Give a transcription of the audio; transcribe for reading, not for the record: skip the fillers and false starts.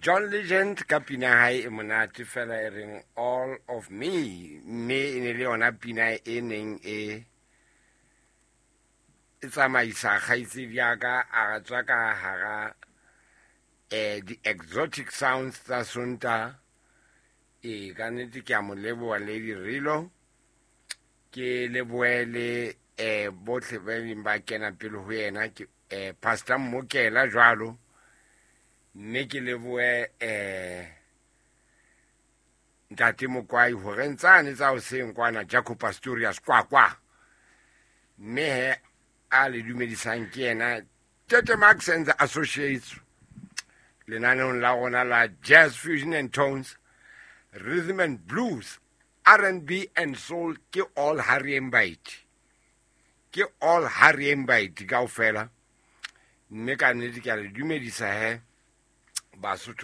John Legend ka pina ya hae e monate fela e reng All of Me, mme e ne le yona pina e neng e e tsamaisa kgaitsedi ya ka a tswa ka hara di-exotic sounds tsa Sontaha. Ee, ka nnete ke a mo leboha Lady Rilo, ke lebohe le bohle ba neng ba kena pele ho yena, ke Pastor Mmokela jwalo, mme ke lebohe Ntate Mokwai hore ntsane tsa hoseng kwana Jaco Pastorius kwa, mme he a le dumedisang ke yena Tete Max and the Associates lenaneong la rona la Jazz Fusion and Tones, Rhythm and Blues, R&B and Soul. Ke all Harry Mbite, ke all Harry Mbite kaofela, mme ka nnete ke a le dumedisa he Basotho.